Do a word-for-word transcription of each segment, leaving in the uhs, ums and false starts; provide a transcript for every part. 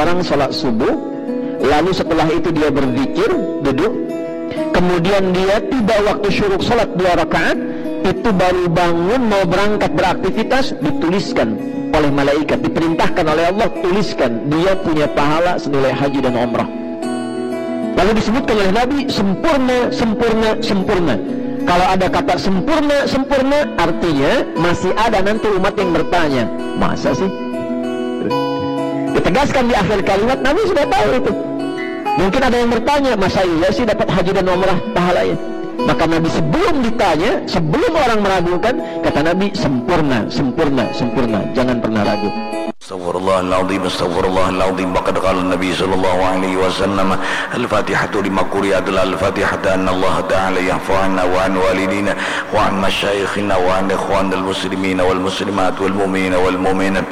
Orang sholat subuh, lalu setelah itu dia berzikir, duduk, kemudian dia tiba waktu syuruk sholat dua rakaat, itu baru bangun mau berangkat beraktivitas, dituliskan oleh malaikat, diperintahkan oleh Allah, tuliskan, dia punya pahala senilai haji dan umrah. Lalu disebutkan oleh Nabi, sempurna, sempurna, sempurna. Kalau ada kata sempurna, sempurna, artinya masih ada nanti umat yang bertanya, masa sih? Ditegaskan di akhir kalimat, Nabi sudah tahu itu. Mungkin ada yang bertanya, masa iya sih dapat haji dan umrah pahalanya? Maka Nabi sebelum ditanya, sebelum orang meragukan, kata Nabi, sempurna, sempurna, sempurna. Jangan pernah ragu. Astaghfirullahaladzim, astaghfirullahaladzim. Wa qad qala Nabi sallallahu alaihi wasallam, Al-Fatihatu lima quri'at, Al-Fatihata anna Allah Ta'ala ya'fu anna wa an walidina wa an masyayikhina wa an ikhwanil muslimina wal muslimat wal mu'minina wal mu'minat.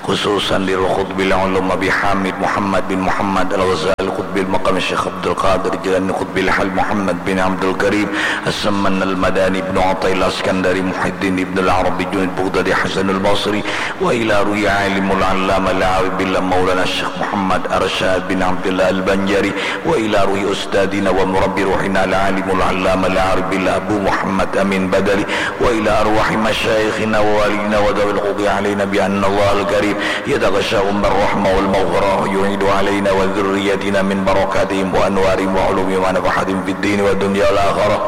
Khususan lil qutbil ulum Abi Hamid Muhammad bin Muhammad Al-Ghazali, qutbil maqam Syekh Abdul Qadir Jilani, qutbil hal Muhammad bin Abdul Karim As-Samman Al-Madani, Ibnu Athaillah Iskandari, Muhyiddin Ibnu Al-Arabi Junaid Bughdadi Hasanul Basri, wa ila ruhi alimul allama al-arif billah Maulana Syekh Muhammad Arsyad bin Abdullah Al-Banjari, wa ila ruhi ustadina wa murabbi ruhina al-alimul allama al-arif billah Abu Muhammad Amin Badali, wa ila arwahi masyayikhina wa walidina wa dawil qudi alaina bi anna Allah al-karim yataghashahum bil rahmah wal maghfirah wa yu'idu alaina wa dzurriyyatina min barakatihim wa anwarihim wa ulumihim wa nafahatihim fid dini wa dunya wal akhirah.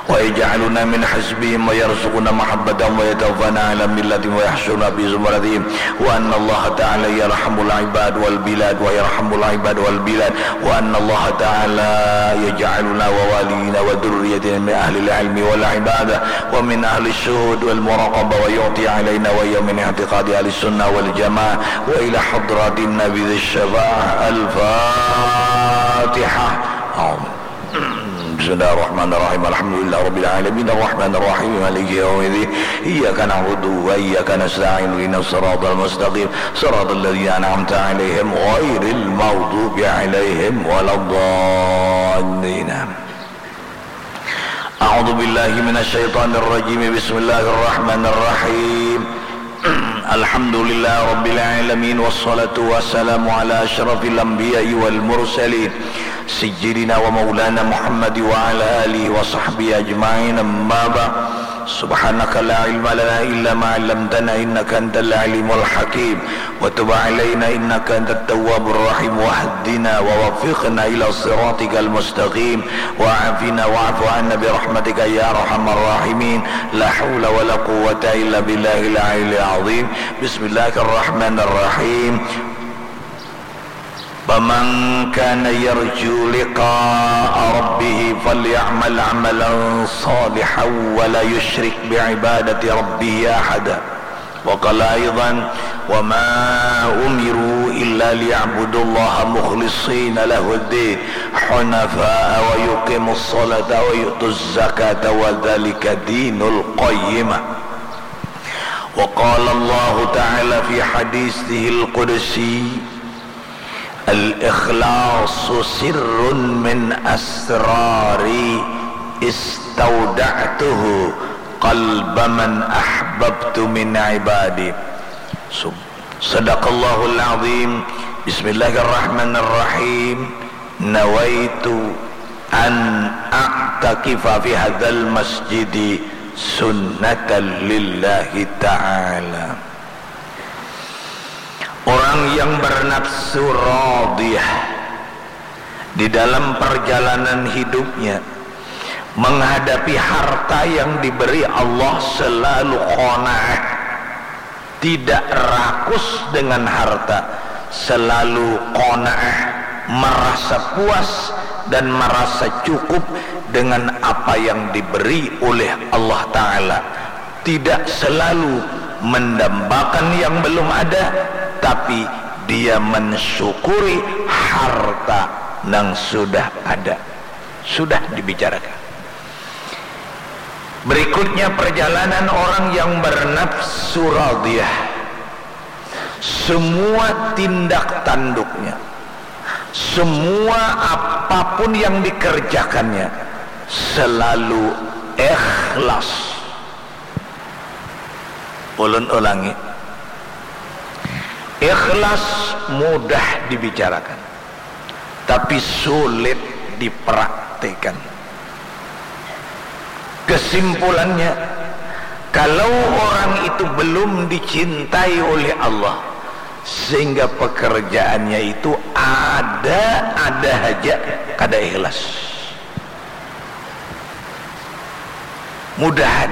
Wa yaj'aluna min hizbihim wa yarzuqna mahabbatahum wa yatawaffana ala millatihim wa yahsyurna fi zumratihim. Wa anna Allah ta'ala yarhamul ibad wal bilad wa yarhamul ibad wal bilad. Wa anna Allah ta'ala yaj'aluna wa walidina wa dzurriyyatina min ahlil ilmi wal ibadah wa min ahli syuhud wal muraqabah wa yu'ti alaina wa iyyakum min i'tiqadi ahli sunnah wal jamaah wa ila hadratin nabi dzis syafa'ah. Al-Fatihah. Amin. Bismillahirrahmanirrahim. Alhamdulillahirabbil alamin. Arrahmanirrahim. Maliki yaumiddin. Iyyaka na'budu wa iyyaka nasta'in. Ihdinas siratal mustaqim. Siratal ladzina an'amta 'alaihim ghairil maghdubi 'alaihim waladdallin. A'udzu billahi minasy syaithanir rajim. Bismillahirrahmanirrahim. Alhamdulillah rabbil alamin, wassalatu wassalamu ala asyrafil anbiya'i wal mursalin, sayyidina wa maulana Muhammad wa ala alihi wa sahbihi ajma'in, amma ba'd. Subhanaka la ilma lana illa ma 'allamtana innaka antal alimul hakim. Wa tub alaina innaka antat tawwabur rahim. Wahdina wa waffiqna ila siratikal mustaqim. Wa afina wa'fu anna bi rahmatika ya arhamar rahimin. La haula wa la quwwata illa billahil aliyil azim. Bismillahirrahmanirrahim. Faman kana yarju liqa'a rabbih falyamal amalan salihan wa la yusyrik bi ibadati rabbih ahada. Wa qala aidan, wa ma umiru illa liya'budullaha mukhlishina lahuddin hunafa'a wa yuqimus salata wa yu'tuz zakata wa dzalika dinul qayyimah. Wa qala Allahu ta'ala fi haditsihil qudsi, al-ikhlasu sirrun min asrari istauda'tuhu qalba man ahbabtu min ibadi. Sub-, Sadaqallahul azim. Bismillahirrahmanirrahim. Nawaitu an a'takifa fi hadzal masjidi sunnatan lillahi ta'ala. Orang yang bernafsu radiyah di dalam perjalanan hidupnya menghadapi harta yang diberi Allah selalu qanaah, tidak rakus dengan harta, selalu qanaah, merasa puas dan merasa cukup dengan apa yang diberi oleh Allah Ta'ala. Tidak selalu mendambakan yang belum ada, tapi dia mensyukuri harta nang sudah ada. Sudah dibicarakan. Berikutnya, perjalanan orang yang bernafsu radiyah. Semua tindak tanduknya, semua apapun yang dikerjakannya, selalu ikhlas. Ulun ulangi. Ikhlas mudah dibicarakan, tapi sulit dipraktekan. Kesimpulannya, kalau orang itu belum dicintai oleh Allah, sehingga pekerjaannya itu ada-ada haja, kada ikhlas. Mudahan,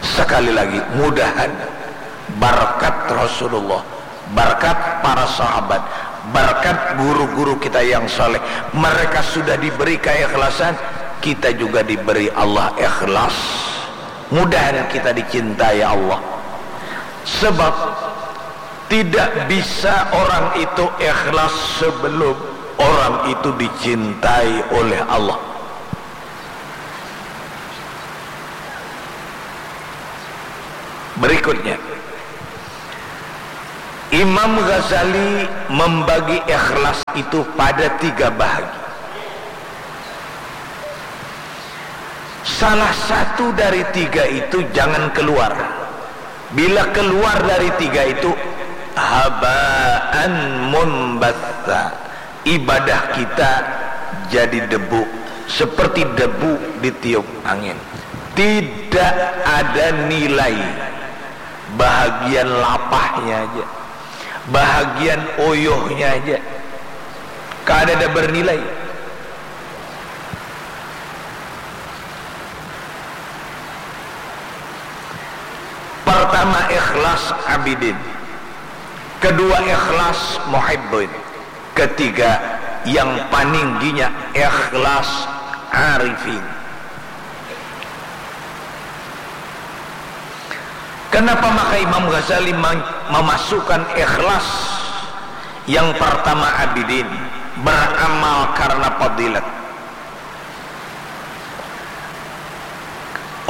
sekali lagi, mudahan barkat Rasulullah, barkat para sahabat, barkat guru-guru kita yang saleh, mereka sudah diberi keikhlasan, kita juga diberi Allah ikhlas. Mudahan kita dicintai Allah. Sebab tidak bisa orang itu ikhlas sebelum orang itu dicintai oleh Allah. Berikutnya, Imam Ghazali membagi ikhlas itu pada tiga bahagi. Salah satu dari tiga itu jangan keluar. Bila keluar dari tiga itu, habaan mumbatsa. Ibadah kita jadi debu, seperti debu ditiup angin. Tidak ada nilai. Bahagian lapahnya aja, bahagian uyuhnya aja, kadada bernilai. Pertama, ikhlas abidin. Kedua, ikhlas muhibbin. Ketiga, yang paningginya, ikhlas arifin. Kenapa maka Imam Ghazali mem-, memasukkan ikhlas yang pertama abidin, beramal karena fadilat?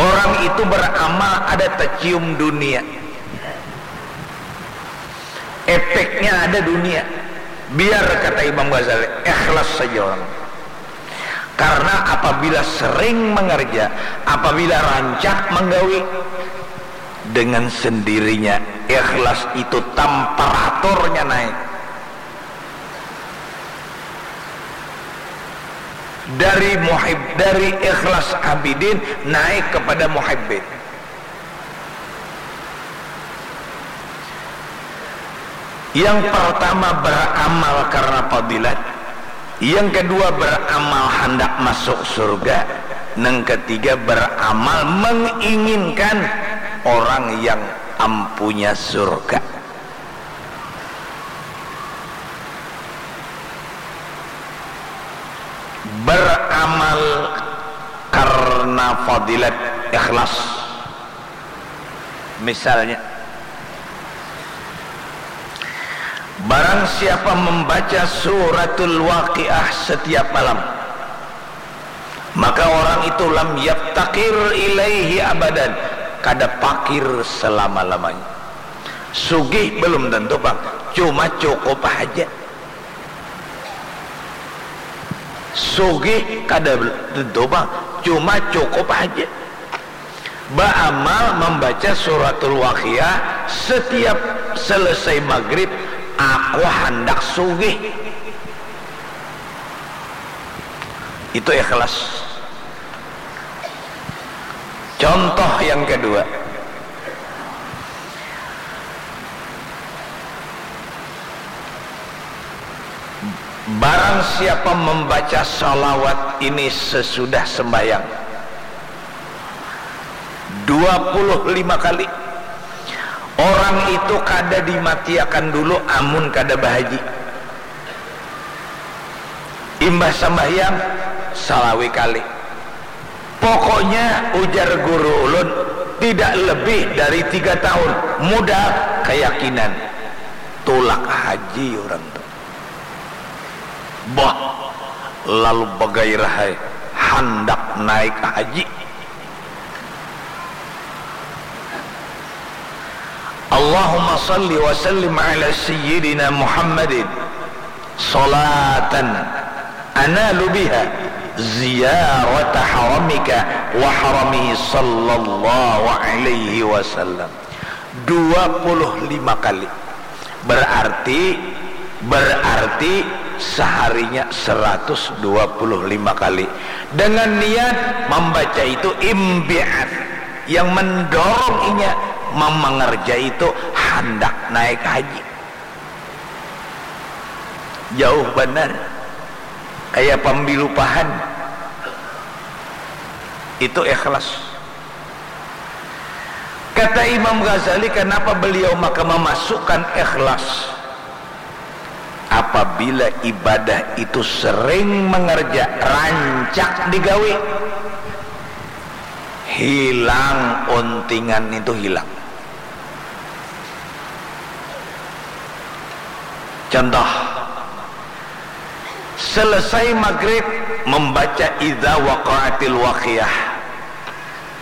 Orang itu beramal ada tercium dunia. Efeknya ada dunia. Biar, kata Imam Ghazali, ikhlas saja orang. Karena apabila sering mengerja, apabila rancak menggawi, dengan sendirinya ikhlas itu temperaturnya naik. Dari muhib, dari ikhlas abidin naik kepada muhibbin. Yang pertama beramal karena fadilat, yang kedua beramal handak masuk surga, yang ketiga beramal menginginkan orang yang ampunya surga. Beramal karena fadilat, ikhlas. Misalnya, barang siapa membaca Suratul Waqiah setiap malam, maka orang itu lam yaftakir ilaihi abadan, kada pakir selama-lamanya. Sugih belum tentu, Bang, cuma cukup haja. Sugih kada tentu, Bang, cuma cukup haja. Baamal membaca Suratul Waqiah setiap selesai maghrib, aku handak sugih. Itu ikhlas. Contoh yang kedua, barang siapa membaca salawat ini sesudah sembahyang dua puluh lima kali, orang itu kada dimatiakan dulu amun kada bahaji. Imbah sambahyang, salawi kali. Pokoknya, ujar guru ulun, tidak lebih dari tiga tahun. Mudah, keyakinan. Tulak haji orang tu. Bah, lalu bagairah ai, handak naik haji. Allahumma salli wa sallim ala sayyidina Muhammadin salatan analu biha ziyarata haramika wa haramihi sallallahu alaihi wasallam. Dua puluh lima kali. Berarti, berarti seharinya seratus dua puluh lima kali. Dengan niat membaca itu imbi'at, yang mendorong inya memengerja itu handak naik haji. Jauh banar. Kaya pambilupahan. Itu ikhlas. Kata Imam Ghazali, kenapa beliau maka memasukkan ikhlas? Apabila ibadah itu sering mengerja, rancak digawi, hilang untingan itu, hilang. Contoh, selesai maghrib membaca idza waqa'atil waqiah,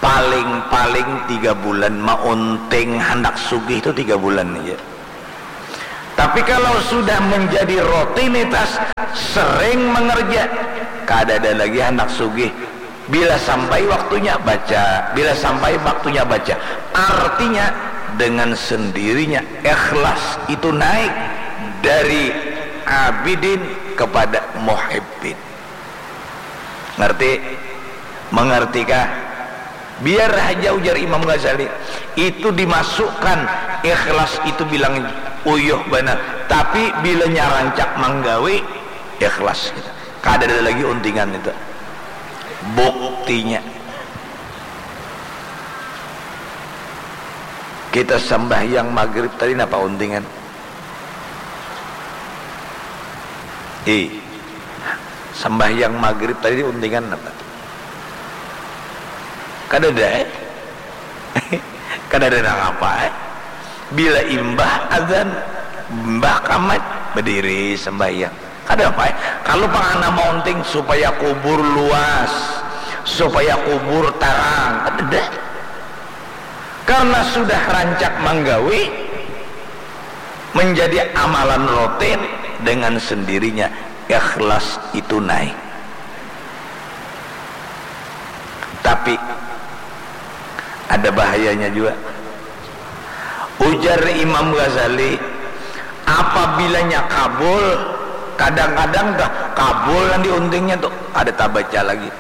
paling-paling tiga bulan, maunting handak sugih tu tiga bulan aja. Tapi kalau sudah menjadi rutinitas, sering mengerja, kada ada lagi handak sugih. Bila sampai waktunya, baca. Bila sampai waktunya, baca. Artinya, dengan sendirinya ikhlas itu naik dari abidin kepada muhibbin. Ngerti? Mengertikah? Biar haja, ujar Imam Ghazali, itu dimasukkan ikhlas itu bilang uyuh banar. Tapi bilanya rancak manggawi, ikhlas kita. Kada ada lagi untingan itu. Buktinya, kita sambahyang maghrib tadi napa untingan? Ih, sambahyang maghrib tadi untingan napa? Kadada, eh? Kadada nang apa, eh? Bila imbah azan, imbah kamat, bediri sambahyang. Kada apa, eh? Kalu pang handak maunting supaya kubur luas, supaya kubur tarang, kadada. Karena sudah rancak manggawi, menjadi amalan rutin, dengan sendirinya ikhlas itu naik. Tapi ada bahayanya jua. Ujar Imam Ghazali, apabilanya kabul, kadang-kadang dah kabul nang diuntingnya tu kada tabaca lagi.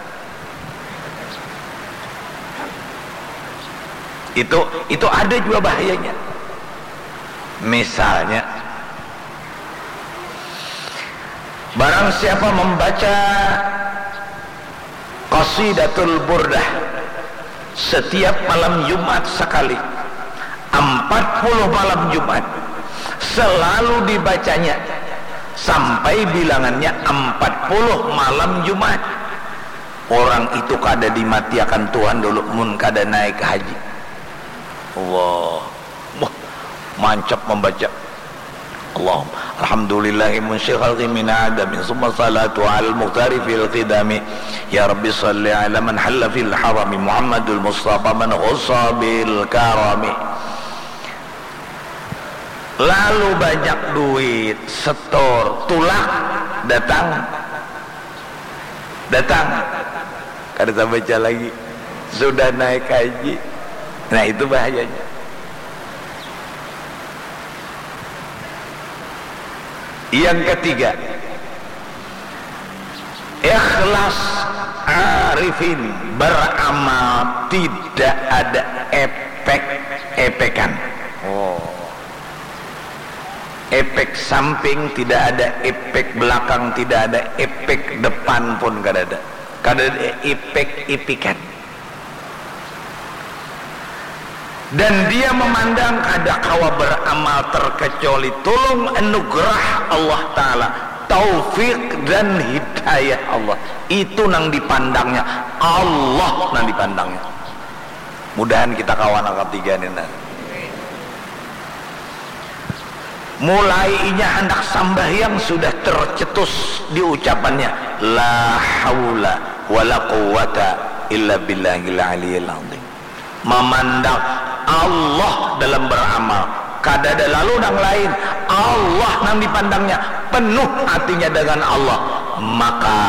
Itu, itu ada jua bahayanya. Misalnya, barang siapa membaca Qasidatul Burdah setiap malam Jumat sekali, empat puluh malam Jumat, selalu dibacanya sampai bilangannya empat puluh malam Jumat, orang itu kada dimatiakan Tuhan dulu mun kada naik haji. Allah. Wah, mancap membaca. Allahumma alhamdulillahi munsyil khalqi min adamin, summa salatu alal muhtari fil qidami. Ya Rabbi salli ala man halla fil harami, Muhammadul Mustafa man khussa bil karami. Lalu banyak duit, setor, tulak, datang. Datang. Kada tabaca lagi. Sudah naik haji. Nah, itu bahayanya. Yang ketiga, ikhlas arifin beramal tidak ada epek-epekan. Oh. Epek samping tidak ada, epek belakang tidak ada, epek depan pun kada ada. Kada ada epek-epekan. Dan dia memandang kada kawa beramal terkecuali tulung anugerah Allah Ta'ala, taufik dan hidayah Allah. Itu nang dipandangnya, Allah nang dipandangnya. Mudahan kita kawa nang katiga ni, nah. Mulai inya handak sambahyang sudah tercetus di ucapannya, "La haula wala quwwata illa billahil aliyil azim." Mamandang Allah dalam beramal, kadada lalu nang lain, Allah nang dipandangnya, penuh hatinya dengan Allah, maka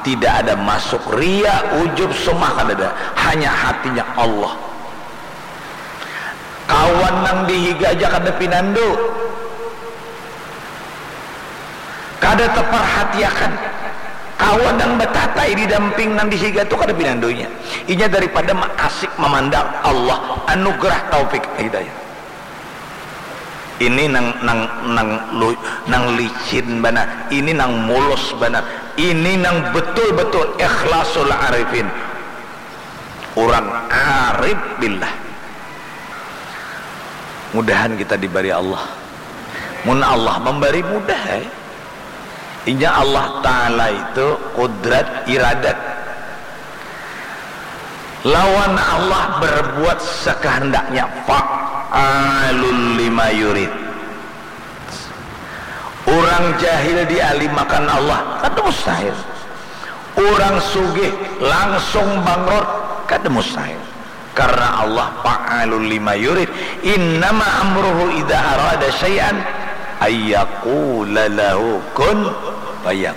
tidak ada masuk ria, ujub, sumah, kadada, hanya hatinya Allah. Kawan nang di higa aja kada pinandu. Kada taparhatiakan kawan nang batatai di damping nang di higa tu kada pinandunya. Inya daripada maasik mamandang Allah anugerah taufik hidayah. Ini nang nang nang lu, nang licin banar, ini nang mulus banar, ini nang betul-betul ikhlasul arifin. Orang arif billah. Mudahan kita dibari Allah. Mun Allah memberi mudah, eh. Inya Allah Ta'ala itu kudrat iradat. Lawan Allah berbuat sekehendaknya, fa'alul lima yurid. Orang jahil dialimakan Allah, kada mustahil. Orang sugih langsung bangkrut, kada mustahil. Karena Allah fa'alul lima yurid. Innama amruhu idza arada syai'an ayyaqula lahu kun fayakun.